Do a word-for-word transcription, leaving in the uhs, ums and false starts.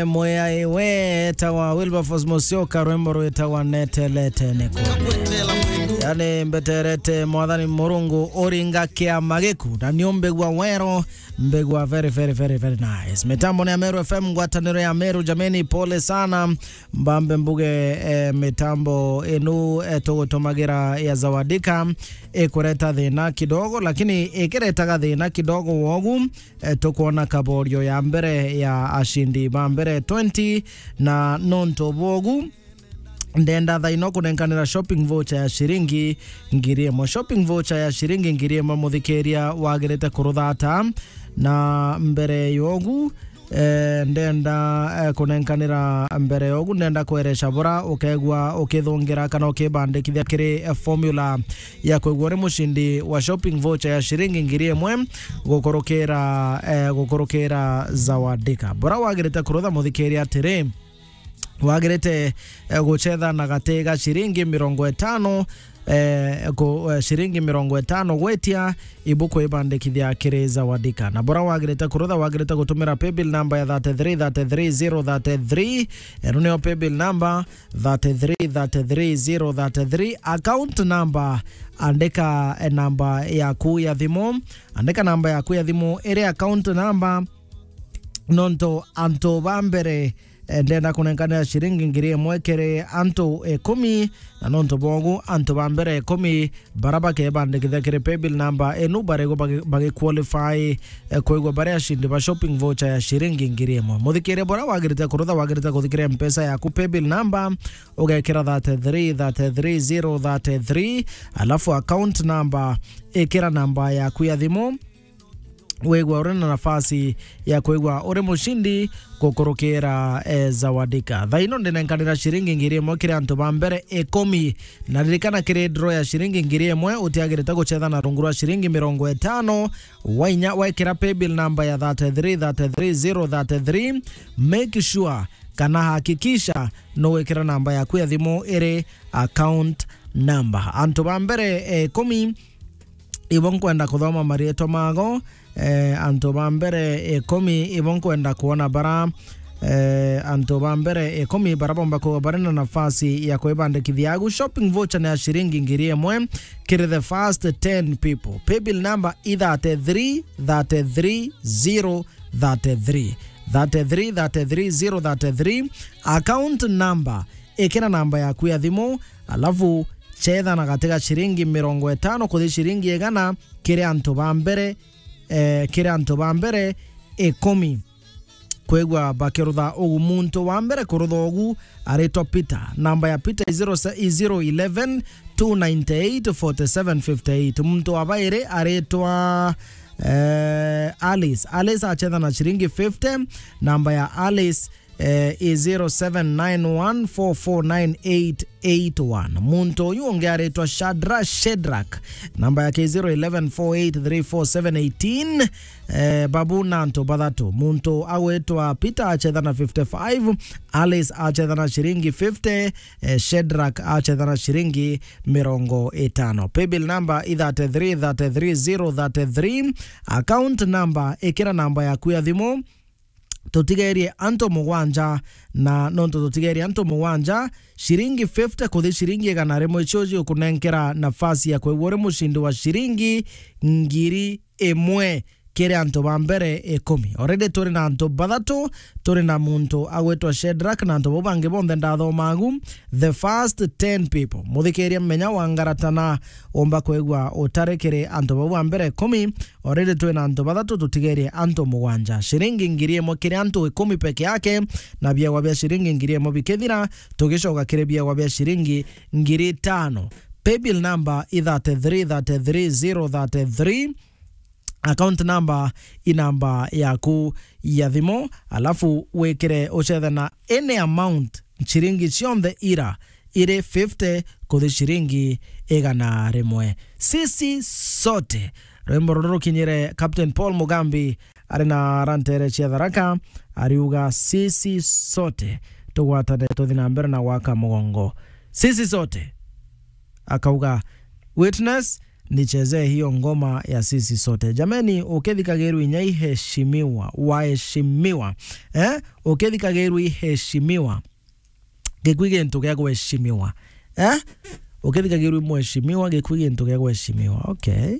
Mwiyai wetawa Wilberforce Musyoka, rwimbo rwitagwa Netelete Niku. Yani, mbeterete Mwathani Murungu uringa kiama giku, na ni umbigua wero, mbigua very, very, very, very nice. Mitambo ni ya Meru F M, ngwataniro ya Meru, jameni, pole sana. Mbambe mbuge, eh, mitambo inu, eh, tugutumagira ya Zawadika ikureta thina kidogo, lakini ikiretaga thina kidogo wogu, eh, tukwona kaborio ya mbere ya ashindi ba mbere twenty, na nontu bogu, ndenda thaino kunenkanira shopping voucher ya shiringi ngiri imwe. Shopping voucher ya shiringi ngiri imwe, muthikiria, wagirite kuruthata. Na mbere yogu, eh, ndenda, eh, kunenkanira mbere yogu, ndenda kweresha bura ukegua ukithungira kana ukibandikithia kiri, eh, formula ya kwigua uri mushindi wa shopping voucher ya shiringi ngiri imwe gukurukira, eh, gukurukira Zawadika. Bura wagirite kurutha, muthikiria, atiri, wagirite, eh, guchetha na gati ga shiringi mirongo itano, eh, ku-, eh, shiringi mirongo itano gwitia ibu kwibandikithia kiri Zawadika. Na bura wagirite kurutha, wagirite gutumira paybill number ya thirty-three thirty-three zero thirty-three. Eno niyo paybill number thirty-three thirty-three zero thirty-three. Account number, andika, eh, namba yaku ya thimu. Andika namba yaku ya thimu, iri account number, nontu antu ba mbere, eh, ndenda kunenkanira shiringi ngiri imwe kiri antu ikumi, na nontu bogu antu ba mbere ikumi bara bakebandikithia kiri paybill number inu, barigwa bagi-, bagi qualify, eh, kwigua bari ashindi ba shopping voucher ya shiringi ngiri imwe. Muthikiria, bura wagirite kurutha, wagirite kuthikiria mpesa yaku paybill number, ugekira thirty-three thirty-three zero thirty-three, alafu account number, ikira namba yaku ya thimu, wigua uri na nafasi ya kwigua uri mushindi gukurukira, eh, Zawadika. Thaino ndinenkanira shiringi ngiri imwe kiri antu ba mbere ikumi. Na ririkana, kiri draw ya shiringi ngiri imwe, utiagirite guchetha na rungu rwa shiringi mirongo itano. Wainya wekira paybill number ya thirty-three thirty-three zero thirty-three, make sure kana hakikisha nugwikira namba yaku ya thimu iri account number. Antu ba mbere, eh, ikumi, ibo nkwenda kuthoma marietwa mago. Eh, antu ba mbere ikumi, ibo nkwenda kuona bara, eh, antu ba mbere ikumi bara bomba kuwa bari na nafasi ya kwibandikithia agu. Shopping voucher ni ya shiringi ngiri imwe kiri the first ten people. Paybill number i thirty-three thirty-three zero thirty-three. Thirty-three thirty-three zero thirty-three. Account number, ikira namba yaku ya thimu, alafu chetha na gati ga shiringi mirongo itano kuthi shiringi igana kiri antu ba mbere, eh, kiri antu ba mbere ikumi. Kwigua bakirutha ugu, muntu wa mbere kurutha ugu aritwa Peter. Namba ya Peter i zero se-, i zero eleven two ninety eight forty seven fifty eight. Muntu wa bairi aritwa, eh, Alice. Alice achetha na shiringi fifty. Namba ya Alice, eh, i zero seven nine one four four nine eight eight one. Muntu uyu ungi aritwa Shadra Shedrak. Namba yake i zero eleven four eight three four seven eighteen. Eh, babu na antu bathatu. Muntu agwitwa Peter achetha na fifty-five, Alice achetha na shiringi fifty, eh, Shedrak achetha na shiringi mirongo itano. Paybill number i thirty-three thirty-three zero thirty-three. Account number, ikira namba yaku ya thimu, tutigerie antu mugwanja, na nontu tutigerie antu mugwanja, shiringi fifty kuthi shiringi igana rimwe icio ikunenkera nafasi ya kwigua uri mushindi wa shiringi ngiri imwe kiri antu ba mbere ikumi. Already turi na antu bathatu, turi na muntu agwitwa Shedrak na antu bau bangi bonthe ndathoma agu. The first ten people. Muthikiria, menya wangaratana, umba kwigua utari kiri antu bau ba mbere ikumi. Already twi na antu bathatu, tutigerie antu mugwanja. Shiringi ngiri imwe kiri antu ikumi peke yake, na biegwa bia shiringi ngiri imwe bikithira, tugicoka kiri biegwa bia shiringi ngiri itano. Paybill number i thirty-three thirty-three zero thirty-three. Account number i namba yaku ya thimu, alafu wikire ucethe na any amount, shiringi cionthe ira iri fifty kuthi shiringi igana rimwe. Sisi sote. Rwimbo ruru rukinyire Captain Paul Mugambi ari na rantere cia Tharaka, ariuga, "Sisi sote tugwatane tuthi na mbere na gwaka mugongo. Sisi sote." Akauga, "Witness, nichezee hiyo ngoma ya sisi sote. Jameni, ukithikagirwa inya iheshimiwa, waheshimiwa. Eh? Ukithikagirwa iheshimiwa. Gikui gintu gia kuheshimiwa. Eh? Ukithikagirwa mheshimiwa, gikui gintu gia kuheshimiwa. Okay.